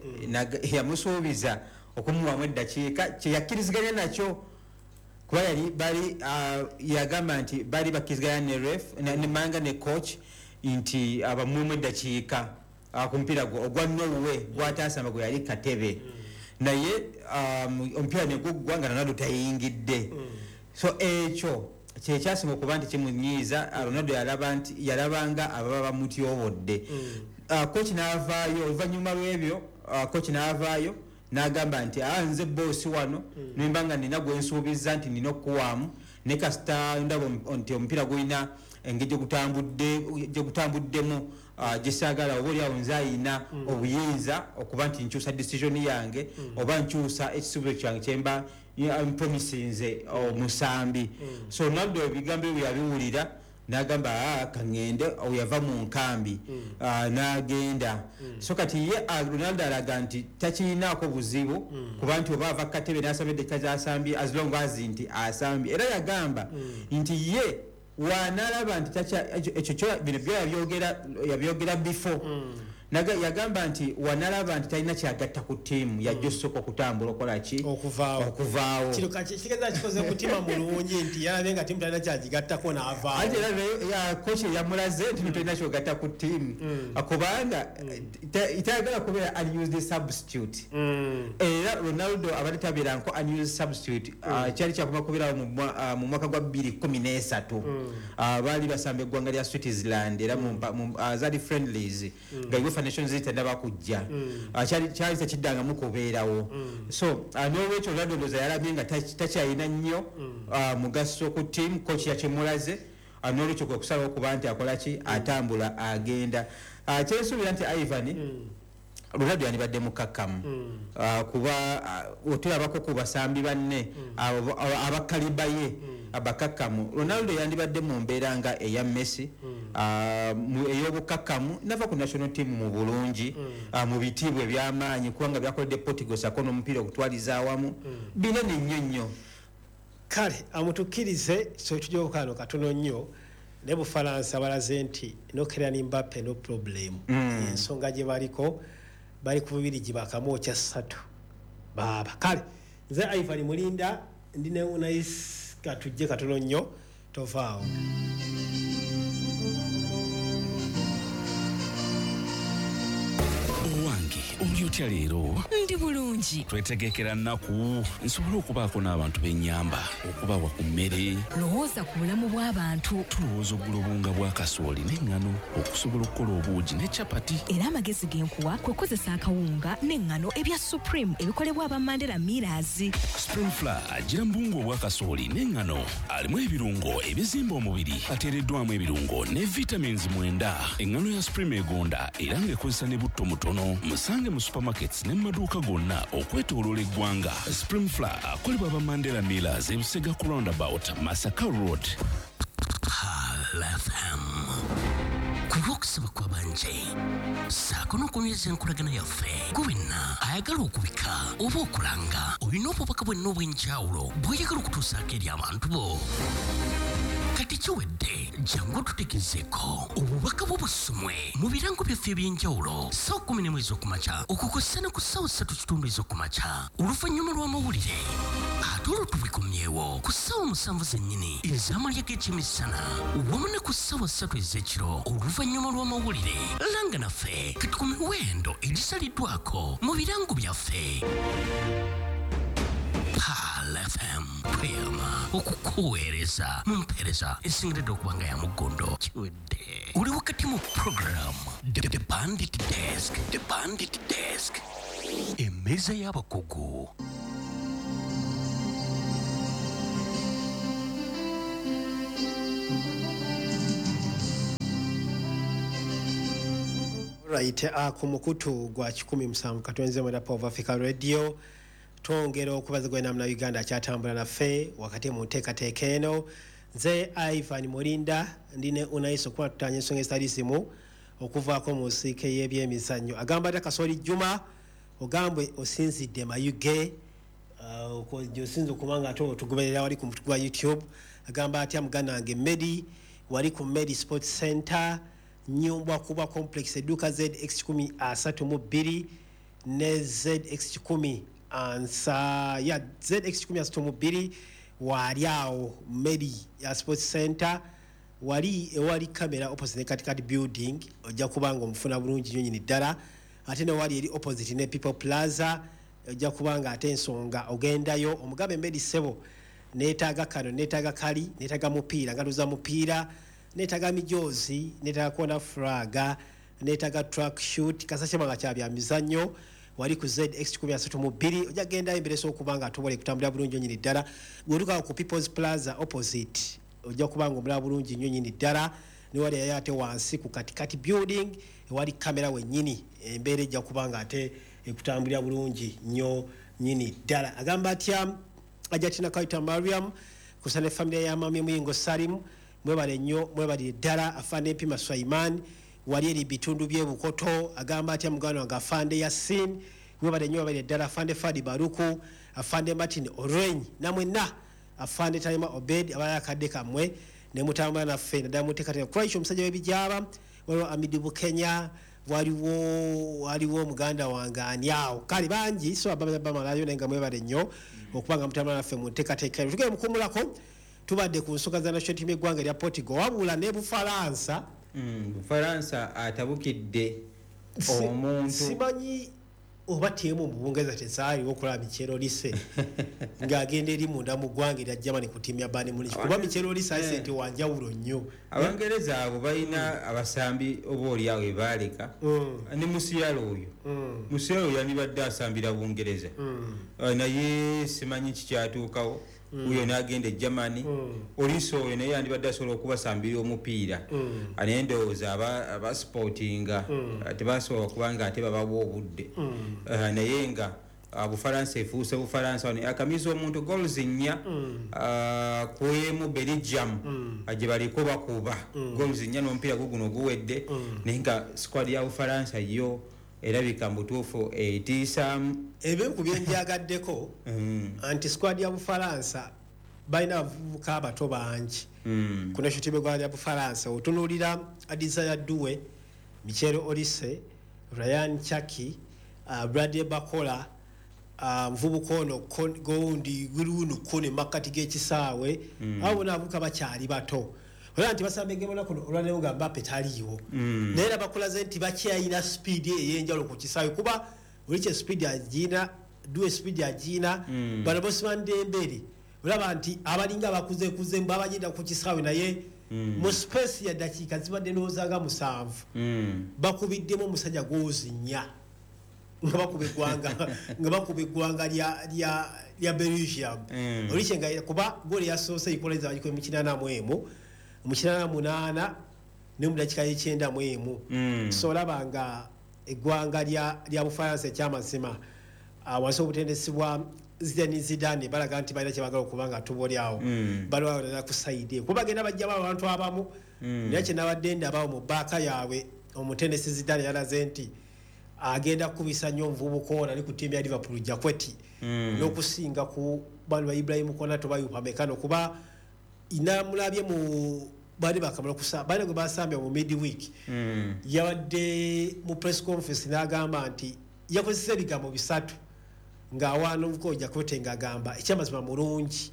yamusuubiza okumuwamu eddakiika kyeyakkiriziganya nakyo, kuba yali bali yagamba nti bali bakkiriziganya ne ref ne manga ne coach nti abamuwemu eddakiika ku mupiira gwe ogwa Norway gwatasamba gwe yali katebe, naye omupiira ne guggwa nga Ronaldo tayingidde. So ekyo kyekyasinga okuba nti kimunyiiza. Ronaldo yalaba nti yalabanga ababa bamutyobodde. Coach n'avaayo oluvannyuma lw'ebyo, coach n'avaayo n'agamba nti, "Ah, nze boss wano, nemba nga nina gwe nsuubiza nti nina okukuwaamu, ne kasita ndaba nti omupiira gulina engeri gye gutambuddemu gyesaagala, oba oliawo nze ayina obuyinza okuba nti nkyusa decision yange oba nkyusa ekisuubizo kyange kyemba mpromisinze omusambi." So Ronaldo ebigambo ebyo yabiwulira n'agamba, "Ah, kaŋŋende." Yava mu nkambi n'agenda. So kati ye Ronaldo alaga nti takirinaako buzibu kuba nti oba ava katebe n'asamba eddakiika z'asambye, as long as nti asambye. Era yagamba nti ye wanalaba nti ekyo bino byo yabyogera before. Yagamba nti wanalaba nti talina kyagatta ku ttiimu, yajja osooka okutambula okola ki? Okuvaawo. Okuvaawo. Kino kitegeeza kikoze mutima mulungi nti yalabye nga ttiimu talina kyagigattako n'avaawo. Ate era coach yamulaze nti tolina kyogatta ku ttiimu, kubanga tayagala kubeera unused substitute. Era Ronaldo abadde tabeeranko unused substitute. Kyali kyakoma kubeerawo mu mwaka gwa 2013. Baali basamba eggwanga lya Switzerland, era zaali friendlies nga UEFA Nations League tennaba kujja. Kyali tekiddangamu kubeerawo. So n'olwekyo Ronaldo ndowooza yalabye nga takyalina nnyo mugaso ku team, coach yakimulaze. N'olwekyo kwe kusalawo okuba nti akola ki, atambula agenda. Kyensuubira nti Ivan, Ronaldo yandibadde mukakkamu, kuba otulabako ku basambi banne abakaliba ye abakakkamu. Ronaldo yandibadde mu mbeera nga eya Messi, ey'obukakkamu, nava ku national team mu bulungi, mu bitiibwa eby'amaanyi, kubanga byakoledde Portugal sako n'omupiira okutwaliza awamu binene nnyo nnyo. Kale amutukkirize so kano katono nnyo. Ne Bufalansa balaze nti no Kylian Mbappe no problem. Ensonga gye baliko, bali ku Bubirigi bakamwokya 3 baaba. Kale nze Ivan Mulinda, ndi ne Unais, katujje katono nnyo, tovaawo. Owange, oli otya leero? Ndi bulungi. Twetegekera nnaku nsobole okubaako n'abantu b'ennyamba, okubawa ku mmere. Lowooza ku bulamu bw'abantu. Tulowooza okugula obuwunga bwa kasooli n'eŋŋano okusobola okukola obuugi ne capati. Era amagezi ge nkuwa kwe kukozesa akawunga n'eŋŋano ebya Supreme ebikolebwa aba Mandela Millers. Supreme Flour agira mu buwunga obwa kasooli n'eŋŋano, alimu ebirungo ebizimba omubiri, ateereddwamu ebirungo ne vitamins 9. Eŋŋano ya Supreme egonda era ng'ekozesa ne butto mutono. Musange mu supermarkets ne mu maduuka gonna okwetooloola eggwanga. Supreme Flour akolebwa aba Mandela Millers, Ebusega ku roundabout, Masaka Road. Pearl FM. Ku lw'okusaba kw'abanje ssaako n'okunyweza enkolagana yaffe, gwe wenna ayagala okubika oba okulanga, olina obubaka bwenna obw'enjawulo bw'oyagala okutuusaako eri abantu bo, kati kiwedde, jangu otutegezeeko obubaka bwo busomwe mu birango byaffe eby'enjawulo ssaawa 11 ez'okumakya okukosa ne ku ssaawa 3:15 ez'okumakya oluvannyuma lw'amawulire, ate olwo tubikomyewo ku ssaawa 7 zennyini ez'amalya g'ekyemisana wamu ne ku ssaawa 3 ez'ekiro oluvannyuma lw'amawulire. Langa naffe kati ku miwendo egisaliddwako mu birango byaffe. Pearl FM, tweyama okukuweereza mu mpeereza esingiridde okuba nga ya muggondo. Kiwedde, oli wakati mu program The Bandit Desk, The Bandit Desk, emmeeza y'abakugu. Right, ku mukutu gwa 107.9 Power of Africa Radio, twongera okubaza gwena muna Uganda akyatambula naffe wakati mu nteekateeka eno. Nze Ivan Mulinda, ndi ne Unais okuba tutanya ensonga ezitali zimu okuvaako mu nsiike y'ebyemizannyo. Agamba ati Kasoli Juma, ogambwe osinzidde Mayuge, osinza okuba nga ate otugoberera wali ku mukutu gwa YouTube. Agamba atya muganda wange Medi, wali ku Medi Sports Center, Nyumbwa Kuba Complex, edduuka ZX 132 ne ZX kikumi ansa ya ZX 132, waali awo Medi ya Sports Center, wali ewali kamera opposite ne Katikati building, ojja kuba nga omufuna bulungi nnyo nnyini ddala. Ate ne wali eri opposite ne People Plaza, ojja kuba nga ate ensonga ogendayo omugambe Medi ssebo, neetaaga kano, neetaaga kali, neetaaga mupiira, ngalo za mupiira, neetaaga mijoozi, neetaaga kona flaga, neetaaga track shoot, kasashe nga kya bya mizannyo, wali ku ZX 132, ojja kugendayo embere okuba nga atobole kutambulira bulungi nnyini ddala. Bw'otuuka ku People's Plaza opposite, ojja kuba nga omulaba bulungi nnyo nnyini ddala. Ne wali yayo ate wansi ku Katikati building ewali kamera wennyini, embeera ejja kuba nga ate ekutambulira bulungi nnyo nnyini ddala. Agamba atya Ajatina Kaita Mariam kusa ne familia ya Mami Muyingo Salim, mwebale nnyo, mwebalire ddala. Afande Mpima Swaiman wali eri bitundu by'e Bukoto, agamba atya muganda wange Afande Yasin, mwebale nnyo, mwebalire ddala. Afande Fadi Baruku, Afande Martin Oreny, namwenna Afande Talima Obed abalala akadde kammwe ne mutambula naffe naddala muteekateeka Christ omusajja w'ebijaaba. Waliwo Amidi Bukenya, waliwo muganda wange ani awo, kale bangi so abamalayo, naye nga mwebale nnyo okuba nga mutambula naffe mu nteekateeka eno. Tugende mukuumulako, tubadde ku nsonga za national team y'eggwanga erya Portugal, wabula ne Bufalansa. Bufalansa atabukidde omuntu. Simanyi oba ttiimu mu Bungereza tezaaliwo okulaba Michel Olise ng'agenda eri munda mu ggwanga erya Germany ku ttiimu ya Bayern Munich, kuba Michel Olise ayise nti wa njawulo nnyo. Abangereza abo balina abasambi oba oli awo ebaaleka ne Musiala oyo. Musiala oyo yandibadde asambira Bungereza, naye simanyi kikyatuukawo. Uyo n'agenda e Germany. Olise oyo naye yandibadde asobola okubasambira omupiira, naye ndowooza abasupportinga tebasobola kubanga ate babawa obudde. Naye nga Bufalansa efuuse Bufalansa. Wano akamiza omuntu goals 4 kwemu Belgium gye baliko bakuba goals 4 n'omupiira guguno guwedde, naye nga squad ya Bufalansa yo erabika mutuufu etiisaamu. Ebimu ku byenjagaddeko anti squad ya Bufalansa balina abavubuka abato bangi ku national team y'eggwanga lya Bufalansa. Otunuulira Desire Doue, Michael Olise, Rayan Cherki, Bradley Barcola, muvubuka ono gowundi guruunu kone makkati g'ekisaawe. Abo bonna abavubuka bakyali bato, olaba nti basamba egemu olunaku olwaleero nga Mbappe taliiwo, naye era bakulaze nti bakyalina speed ey'enjawulo ku kisaawe, kuba Olise speed agina, Doue speed agina, bano Ousmane Dembele olaba nti abalinga abakuzekuze babagenda ku kisaawe, naye mu space ya dakiika zibadde ndowooza nga 7 bakubiddemu omusajja goals 4 nga bakuba eggwanga lya Belgium. Olise nga kuba goal yasoose equalizer bagikuba mu 81, mu 88 ne mu dakiika y'91. So olaba nga eggwanga lya Bufalansa ekyamazima wansi obutendesi bwa Zidane Zidane balaga nti balina kye baagala okuba nga tuboli awo balwalira ku side, kuba bagenda bajjamu abantu abamu. Naye kye nabadde ndabawo mu baaka yaabwe, omutendesi Zidane yalaze nti agenda kukubisa nnyo omuvubuka ono ali ku ttiimu ya Liverpool, Jaquet, n'okusinga ku bano ba Ibrahim Konate oba Upamecano, kuba namulabye mu baali bakamala baali gwe basambye mu midweek. Yabadde mu press conference n'agamba nti yakozesa ebigambo 3 ng'awaana omuvubuka oyo Jaquet, ng'agamba ekyamazima mulungi.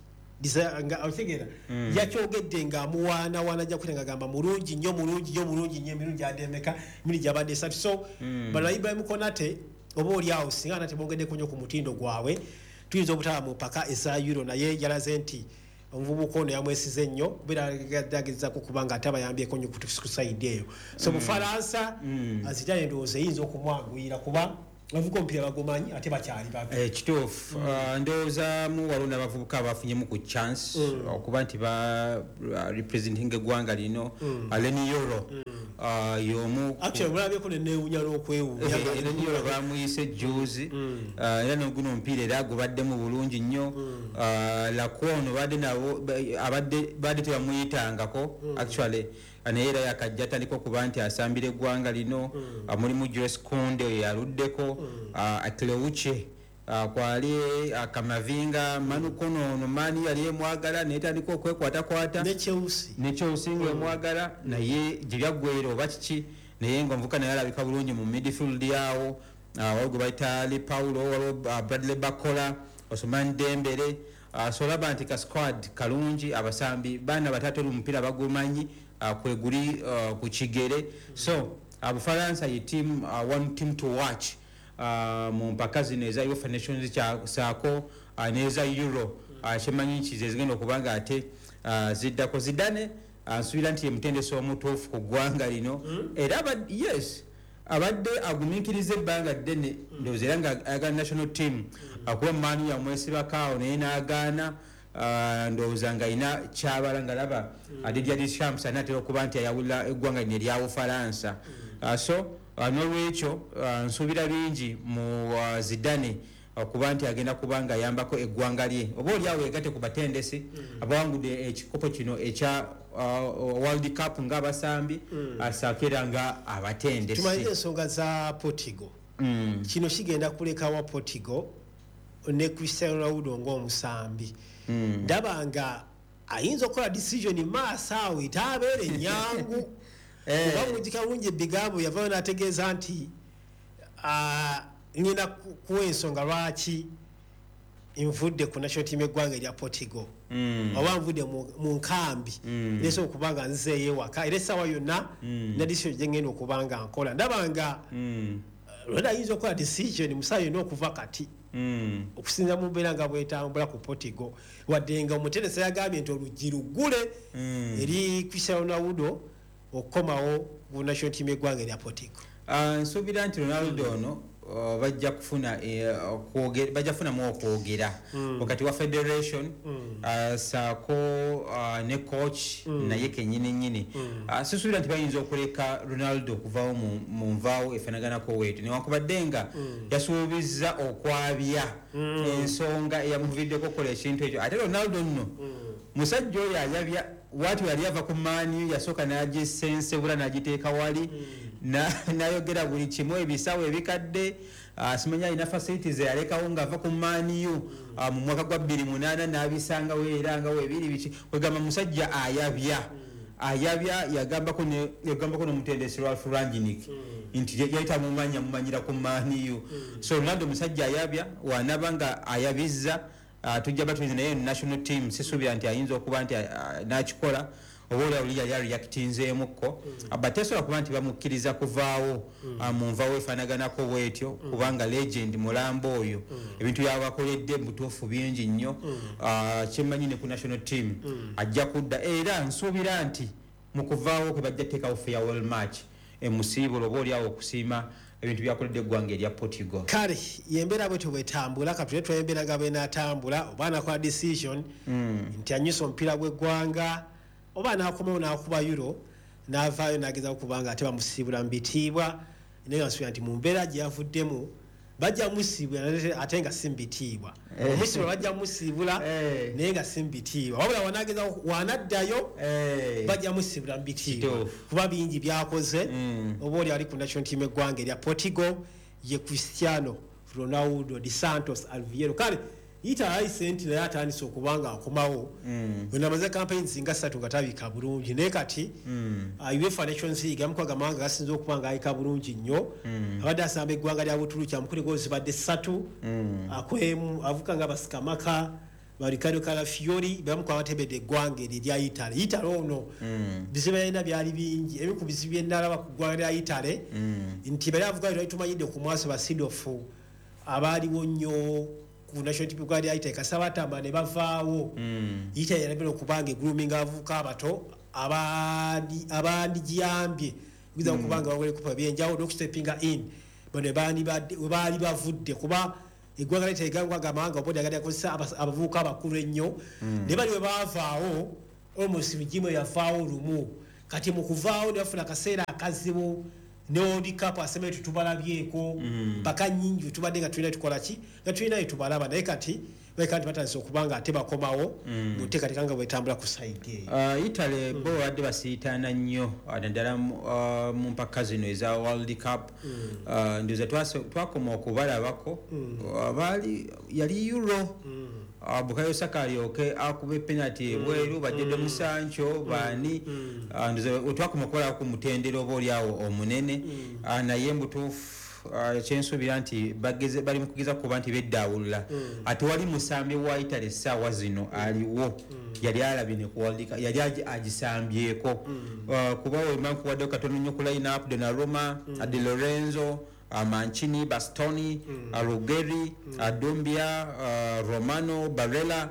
Otegeera, yakyogedde ng'amuwaanawaana Jaquet, ng'agamba mulungi nnyo, mulungi nnyo, mulungi nnyo, emirundi ademeka emirundi gyabadde 3. So bano Ibrahim Konate oba oli awo singa nate bongeddeko nnyo ku mutindo gwabwe tuyinza obutaba mu mpaka eza Euro, naye yalaze nti omuvubuka ono yamwesize nnyo kubeera agezaako kuba nga ate abayambyeko nnyo ku side eyo. So Bufalansa Zidane ndowooza eyinza okumwanguyira kuba abavubuka omupiira bagumanyi ate bakyali bato. Kituufu. Ndowoozamu waliwo n'abavubuka abafunyemu ku chance okuba nti ba representing eggwanga lino. Leny Yoro y'omu. Actually mulabyeko neneewunya n'okwewuunya. Leny Yoro bamuyise juzi, era noguno omupiira era gubaddemu bulungi nnyo. Lacroix badde nabo abadde badde tebamuyitangako actually, naye era yakajja atandika okuba nti asambira eggwanga lino. Mulimu Jules Kounde oyo yaluddeko, Akleuche kwali, Kamavinga, Manukono ono mani yali emwagala naye tandika okwekwatakwata. Ne Chelsea. Ne Chelsea nga emwagala, naye gye byaggwera oba kiki, naye nga omuvuka naye alabika bulungi mu midfield yawo. Waliwo gwe bayita Lee Paulo, waliwo Bradley Barcola, Ousmane Dembele. So olaba nti ka squad kalungi, abasambi baana batatu omupiira bagumanyi, kweguli ku kigere. So Bufalansa ye team, one team to watch mu mpaka zino eza UEFA Nations saako n'eza Euro. Kyemanyi nti ze zigenda okuba nga ate ziddako. Zidane nsuubira nti ye mutendesi omutuufu ku ggwanga lino, era yes, abadde agumiikiriza ebbanga ddene, ndowooza era nga ayagala national team, akuba maani yamwesibako awo naye n'agaana. Ndowooza nga alina kyabala nga laba Didier Deschamps anaatera okuba nti ayawulira eggwanga lino erya Bufalansa. So n'olwekyo nsuubira bingi mu Zidane okuba nti agenda kuba nga ayambako eggwanga lye, oba oli awo yegatte ku batendesi abawangudde ekikopo kino ekya World Cup ng'abasambi asaako era nga abatendesi. Tumalire ensonga za Portugal. Kino kigenda kulekawa Portugal ne Cristiano Ronaldo ng'omusambi. Ndaba nga ayinza okukola decision maaso awo etaabeere nyangu, kuba mujjukira bulungi ebigambo yavayo n'ategeeza nti ngenda kuwa ensonga lwaki nvudde ku national team eggwanga erya Portugal, oba nvudde mu nkambi, nesobola okuba nga nzeeyo ewaka, era essaawa yonna na decision gye ngenda okuba nga nkola. Ndaba nga Ronaldo ayinza okukola decision musaa yonna okuva kati, okusinza mu mbeera nga bwetambula ku Portugal, wadde nga omutendesi yagambye nti oluggi luggule eri Cristiano Ronaldo okukomawo ku national team eggwanga erya Portugal. Nsuubira nti Ronaldo ono Bajja kufuna bajja kufunamu okwogera wakati wa federation saako ne coach naye kenyini nyini. Sisuubira nti bayinza okuleka Ronaldo okuvaawo mu nvaawo efaanaganako weetu, newankubadde nga yasuubizza okwabya ensonga eyamuviiddeko okukola ekintu ekyo. Ate Ronaldo nno musajja oyo ayabya. Wati yali ava ku Man U, yasooka n'agisensebula n'agiteeka wali, n'ayogera buli kimu, ebisawo ebikadde, simanya alina facilities eyalekawo ng'ava ku Man U mu mwaka gwa 2008 n'abisangawo era nga webiri biki. Kwegamba musajja ayabya, ayabya. Yagambako n'omutendesi Ralf Rangnick nti yali tamumanya, mumanyira ku Man U. So Ronaldo musajja ayabya, wanaba nga ayabizza tujja batulize, naye national team sisuubira nti ayinza okuba nti nakikola, oba oli oli yali areactinzeemukko, but tesobola kuba nti bamukkiriza kuvaawo mu nvaawo efaanaganako bwetyo, kubanga legend mulambo oyo ebintu byabakoledde mubutuufu bingi nnyo. Kyemmanyi ne ku national team ajja kudda, era nsuubira nti mu kuvaawo kwe bajja kuteekawo farewell match emusiibula, oba oliawo okusiima ebintu byakoledde eggwanga erya Portugal. Kale yembeera bwetyo bwetambula. Katule twembeera nga bwenaatambula, oba anakola decision nti anyusa omupiira gw'eggwanga, oba anakomawo n'akuba Euro n'avaayo n'agezaako kubanga ate bamusiibula mu bitiibwa. Naye nga nsuubira nti mu mbeera gye yavuddemu bajja musiibula ate nga si mu bitiibwa. Omusiibula bajja musiibula naye nga si mu bitiibwa, wabula wanagezaako wanaddayo bajja musiibula mu bitiibwa kuba bingi byakoze. Oba oli ali ku national team eggwanga erya Portugal ye Cristiano Ronaldo de Santos Alviero. Kale yita ayise nti naye atandise okuba nga akomawo. Wenamaze campaigns nga 3 nga tabika bulungi, naye kati UEFA Nations League amukaga amawanga gasinze okuba nga ayika bulungi nnyo. Abadde asamba eggwanga lya Butuluki, amukuli goals zibadde 3 akwemu avuka nga basikamaka ba Ricardo Calafiori bamu abatebedde eggwanga eryo erya Italy. Italy ono bizibu yalina byali bingi. Ebimu ku bizibu byenalaba ku ggwanga lya Italy nti bali avuga twali tumanyidde ku mwaso ba Seedorf abaaliwo nnyo ku national team ggwanga lya Italy, kasita batambula ne bavaawo. Italy yalabira okubanga egrooming abavubuka abato abandigiyambye okuyinza okuba nga bagola ebikopo ebyenjawulo n'okustepinga in bano we baali bavudde, kuba eggwanga lya Italy gangwaga amawanga obodde agadde akozesa abavubuka abakulu ennyo, naye bali we baavaawo almost migimu yavaawo lumu. Kati mu kuvaawo ne bafuna akaseera akazibu ne World Cup asembayo tetubalabyeko mpaka nnyingi tubadde nga tulina tukola ki nga tulina tubalaba, naye kati baleka nti batandise okuba nga ate bakomawo mu nteekateeka nga bwetambula ku side eyo. Italy bo babadde basiitaana nnyo, naddala mu mpaka zino eza World Cup. Ndowooza twakoma okubalabako baali yali Euro, Bukayo Saka alyoke akube penalty ebweru, ba Jadon Sancho baani. Ndowooza twakoma okubalabako ku mutendera oba oliawo omunene, naye mbutuufu kyensuubira nti bali mu kugeza kuba nti beddaawulula. Ate wali musambi wa Italy essaawa zino aliwo yali alabye ne ku World Cup, yali agisambyeko. Kuba wema nkuwaddeyo katono nnyo ku line up: Donnarumma, Di Lorenzo, Mancini, Bastoni, Ruggeri, Doumbia, Romano, Barella,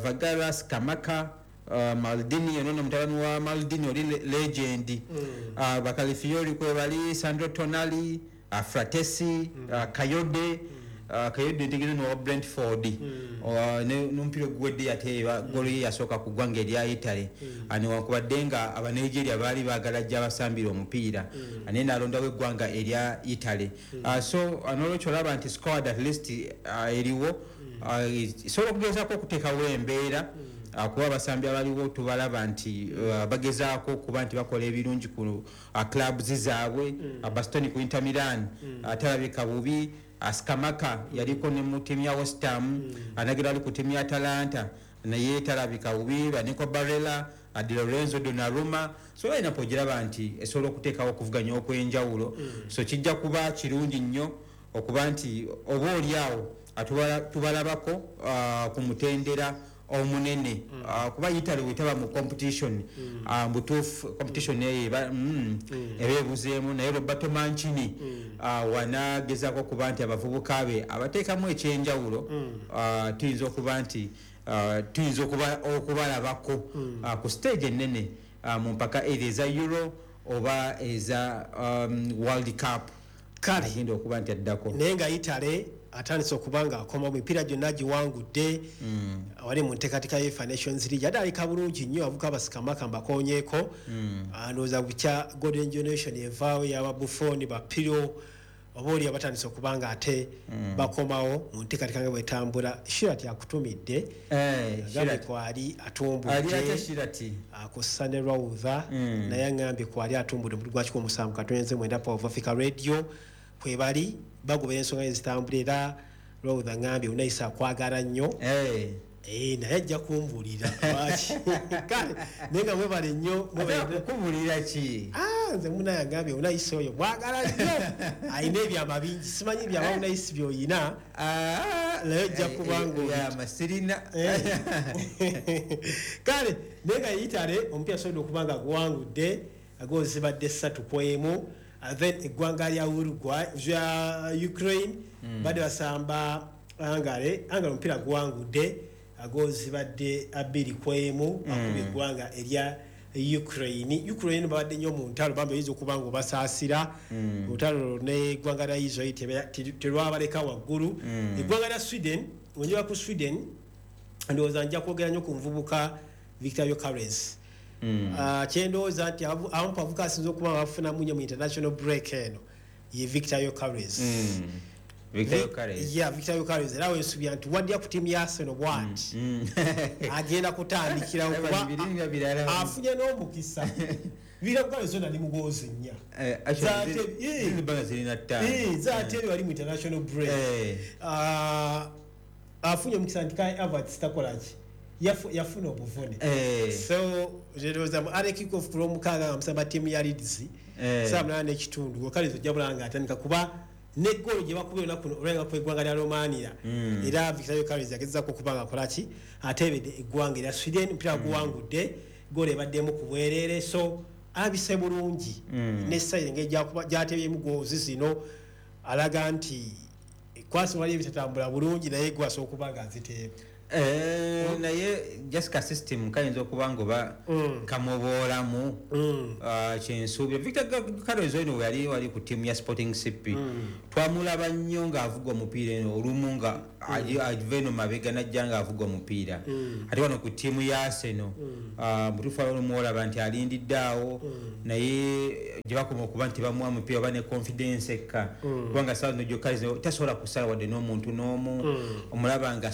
Vergara, Scamacca, Maldini, ono mutabani wa Maldini oli legend, ba Calafiori kwebali, Sandro Tonali, Frattesi, Kayode, Kayode ntegeeza nowa Brentford, n'omupiira oguwedde yateeba golo ye yasooka ku ggwanga erya Italy. Newankubadde nga Abanigeria baali baagala jja abasambira omupiira, naye n'alondawo eggwanga erya Italy. So n'olwekyo olaba nti squad at least eriwo esobola okugezaako okuteekawo embeera, kuba abasambi abaliwo tubalaba nti bagezaako okuba nti bakola ebirungi ku clubs zaabwe. Bastoni ku Inter Milan talabika bubi. Scamacca yaliko ne mu ttiimu ya West Ham, anagera ali ku ttiimu ya Atalanta naye talabika bubi. Ba Nico Barella, Di Lorenzo, Donnarumma, so balina ogiraba nti esobola okuteekawo okuvuganya okw'enjawulo. So kijja kuba kirungi nnyo okuba nti oba oli awo tubalabako ku mutendera omunene, kuba Italy wetaba mu competition, mbutuufu competition eyo eba ebuzeemu. Naye Roberto Mancini wanagezaako okuba nti abavubuka be abateekamu ekyenjawulo, tuyinza okuba nti tuyinza okubalabako ku stage ennene, mu mpaka either eza Euro oba eza World Cup. Kale. Agenda okuba nti addako. Naye nga Italy atandise okuba nga akoma mu mipiira gyonna giwangudde, wali mu nteekateeka ye UEFA Nations League, ate alika bulungi nnyo. Avuka basikamaka mbakonyeeko. Ndowooza bukya golden generation evaawo yaba Buffon, ba Pirlo, oba oli abatandise okuba nga ate bakomawo mu nteekateeka nga bwetambula. Shirat akutumidde. Eh, agambye Shirat. kwali Ali atya? atumbudde. Shirati. Akussa ne Raudha. Naye aŋŋambye kwali atumbudde omutwe gwa 107.9 Power of Africa Radio, kwebali bagobera ensonga ezitambula. Era Raudha ŋŋambye Unaisa akwagala nnyo. Eh. Eh, naye ajja kumbuulira lwaki. Kale naye nga mwebale nnyo, mwebale. Ate akukubulira ki? Ah, nze munaye agambye Unaisi oyo mwagala nnyo, alina ebyama bingi. Simanyi byama Unaisi byoyina. Ah, Naye ojja kuba byama sirina. Kale naye nga Italy omupiira asobodde okuba nga guwangudde goals zibadde 3-1. Then eggwanga lya Uruguay, lya Ukraine, badde basamba Hungary. Hungary omupiira guwangudde, goals zibadde 2-1, akuba eggwanga erya Ukraine. Ukraine babadde nnyo mu ntalo, bambi oyinza okuba nga obasaasira. Olutalo n'eggwanga lya Israel terwabaleka waggulu. Eggwanga lya Sweden, wenjeba ku Sweden, ndowooza nja kwogera nnyo ku nvubuka Victor Gyokeres. Kyendowooza nti abamu bavuka asinza okuba nga bafunamu nnyo mu international break eno ye Victor Gyokeres. Victor Gyokeres. Yeah, Victor Gyokeres. Era wensubira nti waddya ku ttiimu ya Arsenal bwati agenda kutandikirawo kuba Biringa birala. afunye n'omukisa. Victor Gyokeres ono ali mu goals 4. Eh, actually, ziri zirina 5. Zaatebe wali mu international break. Ah, afunye omukisa nti Kai Havertz takolaki, yafuna obuvune. So ndowooza mu early kick off ku Lwomukaaga nga musamba ttiimu ya Leeds saa 8:30, Gyokeres ojja bulaba nga atandika, kuba negoolo gye bakubye olunaku olwenga ku eggwanga lya Romania, era Victor Gyokeres yagezaako okuba nga akolaki, ateebedde eggwanga erya Sweden. Omupiira guwangudde, goolo ebaddemu ku bwereere, so alabise bulungi. Nesayire engeri gyatebyemu goals zino alaga nti kwasi wali ebitatambula bulungi, naye gwasobola okuba nga aziteeba. Eh, naye just ka system kayinza okuba nga oba kamuboolamu. Ah, kyensuubira Victor Gyokeres ono we yali wali ku ttiimu ya Sporting CP, twamulaba nnyo ng'avuga omupiira eno, olumu nga ava eno mabega najja ng'avuga omupiira. Ate wano ku ttiimu ya Arsenal, mutuufu olumu olaba nti alindidde awo, naye gye bakoma okuba nti bamuwa mupiira oba ne confidence ekka, kubanga saa zino Gyokeres tasobola kusala wadde n'omuntu n'omu omulaba nga